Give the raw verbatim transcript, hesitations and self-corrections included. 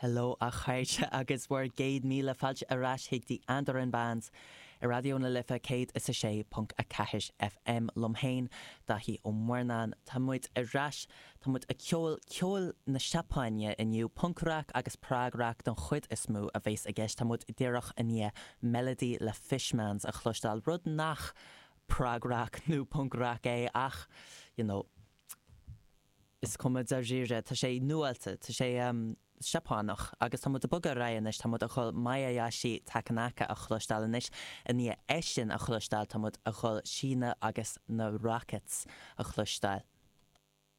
Hello a chairde agus bhur gcéad míle fáilte ar ais chuig The Andaran Bands ar Raidió na Life céad is a sé ponc a ceathair FM liom féin Daithí Ó Murnáin Tá muid ar ais tá muid ag ceol ceol na Seapáine inniu punc-rac agus prog-rac don chuid is mó a bheas i gceist tá muid díreach i ndiaidh Melody le Fishmans a chloisteáil rud nach prog-rac nó punc-rac é ach you know, is cuma dáiríre tá sé nuáilte tá sé um, Seapánach agus tá muid ag bogadh ar aghaidh anois tá muid ag dul Mayayashi Takanaka a chloisteáil anois i ndiaidh é sin a chloisteáil tá muid ag dul Sheena agus na Rockets a chloisteáil.